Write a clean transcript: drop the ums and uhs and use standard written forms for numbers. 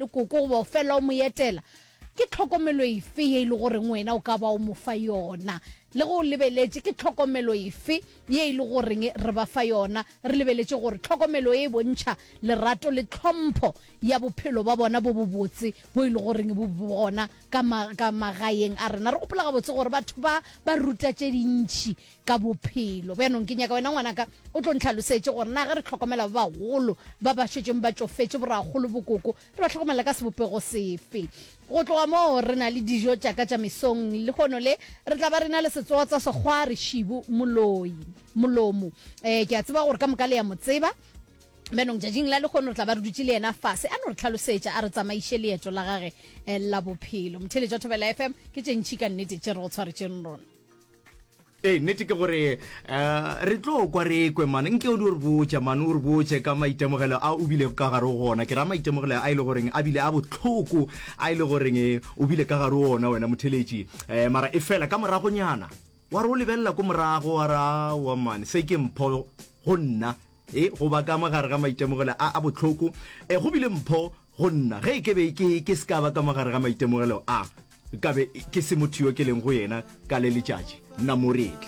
le koko goba o fela o mo etela, ke tlhokomelo efe ye e le goreng wena o ka ba o mo fa yona? Le ge o lebeletše, ke tlhokomelo efe ye e le goreng re ba fa yona? Re lebeletše gore tlhokomelo e e bontšha lerato le tlhompho ya bophelo ba bona bo bobotse bo e le goreng bo gona ka, ma, ka magaeng a rena. Re gopola gabotse gore batho ba ba ruta tše dintši ka bophelo. Bjanong ke nyaka wena ngwanaka o tlo ntlhalosetše gore na ge re hlokomela ba bagolo ba ba šetšeng ba tšofetše, borakgolo, bokoko, re ba hlokomela ka sebopego sefe. Go tloga moo re na le dijo tša ka tša mesong. Lehono le re tla ba re na le setsotsa sekgwari Šibu Moloi, Molomo. Eh, ke a tseba gore ka moka le ya mo tseba. Bjanong tšatšing la lehono re tla ba re dutše le yena fase a no re tlhalosetša a re tsamaiše leeto la gage eh, la bophelo. Motheeletši wa Thobela FM ke tše ntši ka nnete tše re go tshwaretšeng rona. Ee, nnete ke gore um re tlo kwa re kwe mane nke o di o re botša mane o re botše ka maitemogelo a o bilego ka gare go ona ke ra maitemogelo a e le goreng a bile a bohloko a e le goreng o bile ka gare go ona wena motheletši um mara e fela ka moragonyana wa re o lebelela ko morago wa re aowa mane se ke mpho go nna e go ba ka mo gare ga maitemogelo a a bohloko um go bile mpho go nna ge e ke be ke ke se ka ba ka mo gare ga maitemogelo a Nkabe ke se motho yo ke leng go yena ka le letšatši, nna moretli.